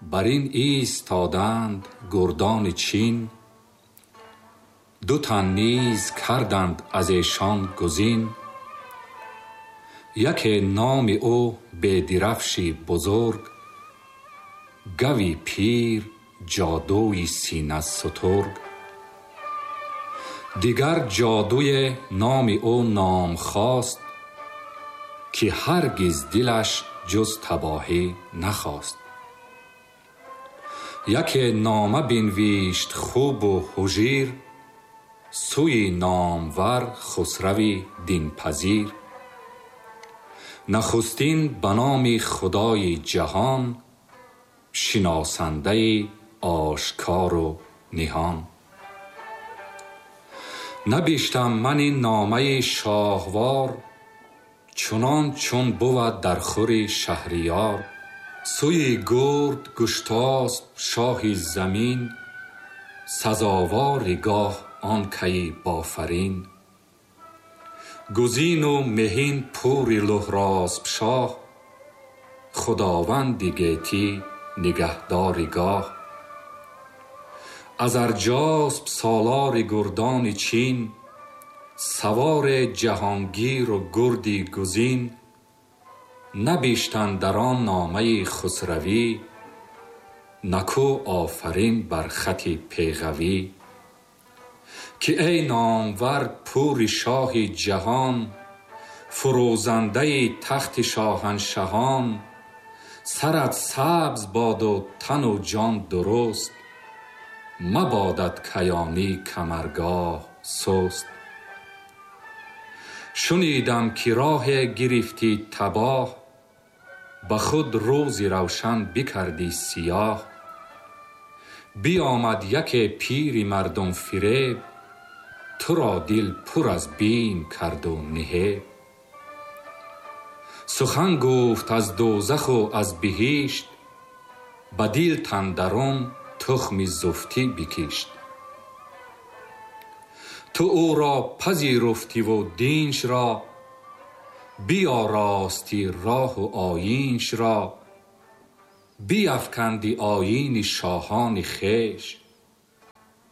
Бар ин истоданд гурдони Чин, ду тан низ карданд аз эшон гузин. Яке номи ӯ Бедирафши бузург, гави пир ҷодуи синастутург. Дигар ҷодуе номи ӯ Номхост, ки ҳаргиз дилаш ҷуз табоҳӣ нахост. Яке нома бинвишт хубу ҳужир, сӯи номвар Хусрави динпазир. Нахустин ба номи Худои ҷаҳон, шиносандаи ошкору ниҳон. Набиштам ман ин номаи шоҳвор, чунон чун бувад дар хури шаҳриёр. Сӯи гурд Гуштосп шоҳи замин, сазовори гоҳ он каи бофарин. Гузину меҳин пури Луҳросп шоҳ, худованди гетӣ нигаҳдори гоҳ. Аз Арҷосп солори гурдони Чин, савори ҷаҳонгиру гурди гузин. Набиштанд дар он номаи хусравӣ, наку офарин бар хати пеғавӣ. Ки эй номвар пури шоҳи ҷаҳон, фурӯзандаи тахти шоҳаншаҳон, сарат сабз боду тану ҷон дуруст, мабодат каёнӣ камаргоҳ суст. Шунидам ки роҳе гирифтӣ табоҳ, ба худ рӯзи равшан бикардӣ сиёҳ. Биомад яке пири мардумфиреб, туро дил пур аз бим карду ниҳеб. Сухан гуфт аз дӯзаху аз биҳишт, ба дил тандарун тухми зуфтӣ бикишт. Ту ӯро пазируфтиву диншро, биёростӣ роҳу оиншро, биафканди оини шоҳони хеш,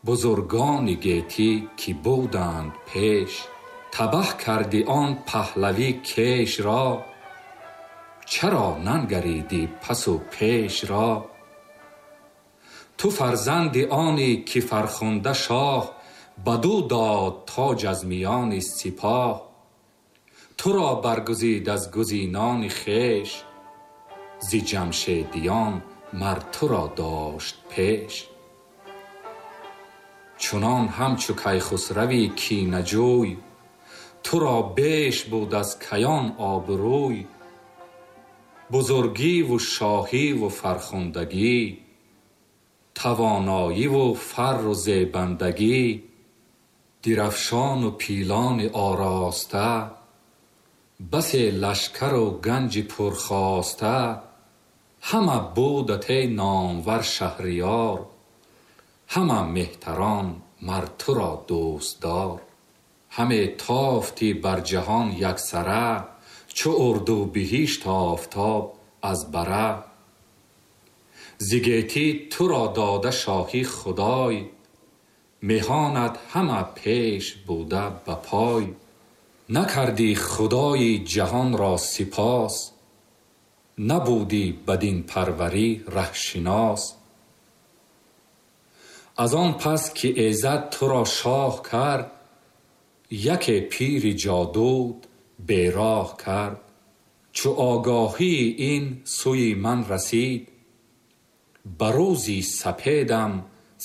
бузургони гетӣ ки буданд пеш. Табаҳ карди он паҳлавӣ кешро, чаро нангаридӣ пасу пешро? Ту фарзанди онӣ ки фархунда шоҳ, бадӯ дод тоҷ аз миёни сипоҳ. Туро баргузид аз гузинони хеш, зи ҷамшедиён мар туро дошт пеш. Чунон ҳамчу Кайхусрави кинаҷӯй, туро беш буд аз каён обрӯй. Бузургиву шоҳиву фархундагӣ, тавоноиву фарру зебандагӣ, дирафшону пилони ороста, басе лашкару ганҷи пурхоста, ҳама будат эй номвар шаҳриёр, ҳама меҳтарон мар туро дӯстдор. Ҳаме тофтӣ бар ҷаҳон яксара, чу урдубиҳишт офтоб аз бара. Зи гетӣ туро дода шоҳӣ Худой, меҳонат ҳама пеш буда ба пой. Накардӣ Худои ҷаҳонро сипос, набудӣ бадинпарварӣ раҳшинос. Аз он пас ки эзад туро шоҳ кард, яке пири ҷодут бероҳ кард. Чу огоҳии ин сӯи ман расид, ба рӯзи сапедам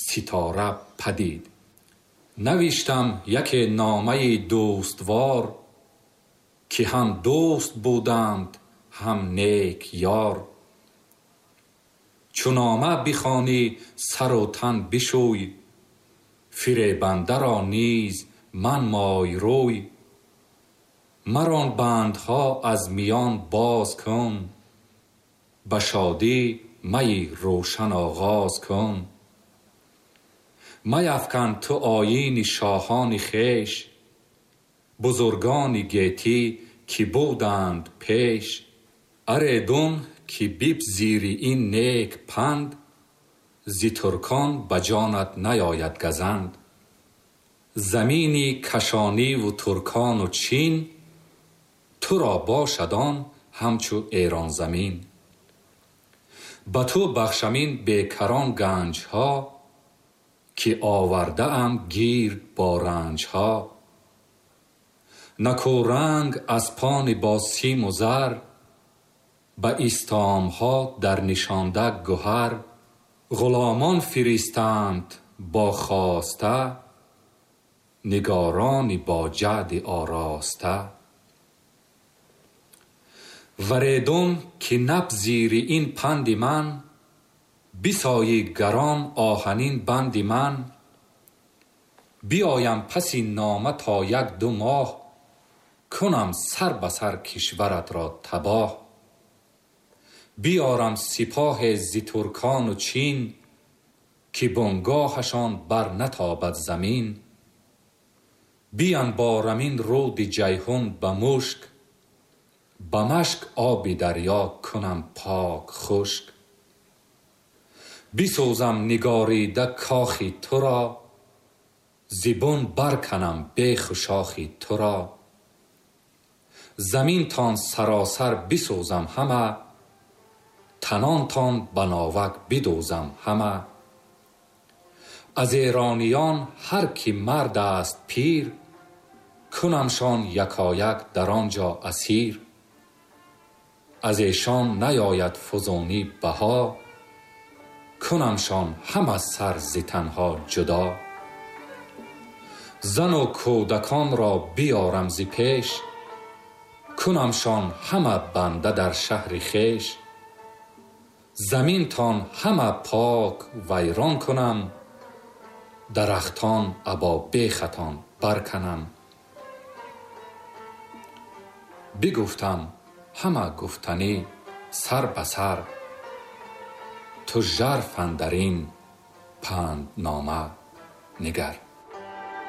ситора падид. Навиштам яке номаи дӯствор, ки ҳам дӯст буданд ҳам нек ёр. Чу нома бихонӣ сару тан бишӯй, фиребандаро низ манмой рӯй. Мар он бандҳо аз миён боз кун, ба шодӣ майи рӯшан оғоз кун. Маяфкан ту оини шоҳони хеш, бузургони гетӣ ки буданд пеш. Аредун ки бипзири ин нек панд, зи туркон ба ҷонат наояд газанд. Замини Кашониву туркону Чин, туро бошад он ҳамчу Эронзамин. Ба ту бахшам ин бекарон ганҷҳо, ки овардаам гирд бо ранҷҳо. Накӯранг аспони бо симу зар, ба истомҳо дар нишонда гуҳар. Ғуломон фиристанд бо хоста, нигорони бо ҷаъди ороста. Варедун ки напзири ин панди ман, бисоӣ гарон оҳанин банди ман. Биоям паси нома то як-ду моҳ, кунам сар ба сар кишваратро табоҳ. Биёрам сипоҳе зи туркону Чин, ки бунгоҳашон бар натобад замин. Бианборам ин руди Ҷайҳун ба мушк, ба машк оби дарё кунам пок хушк. Бисӯзам нигорида кохи туро, зи бун барканам беху шохи туро. Заминтон саросар бисӯзам ҳама, танонтон ба новак бидӯзам ҳама. Аз эрониён ҳар ки мард аст пир, кунамшон якояк дар он ҷо асир. Аз эшон наояд фузунӣ баҳо, кунамшон ҳама сар зи танҳо ҷудо. Зану кӯдаконро биёрам зи пеш, кунамшон ҳама банда дар шаҳри хеш. Заминтон ҳама пок вайрон кунам, дарахтон або бехатон барканам. Бигуфтам ҳама гуфтанӣ сар ба сар, ту жарф андар ин панднома нигар.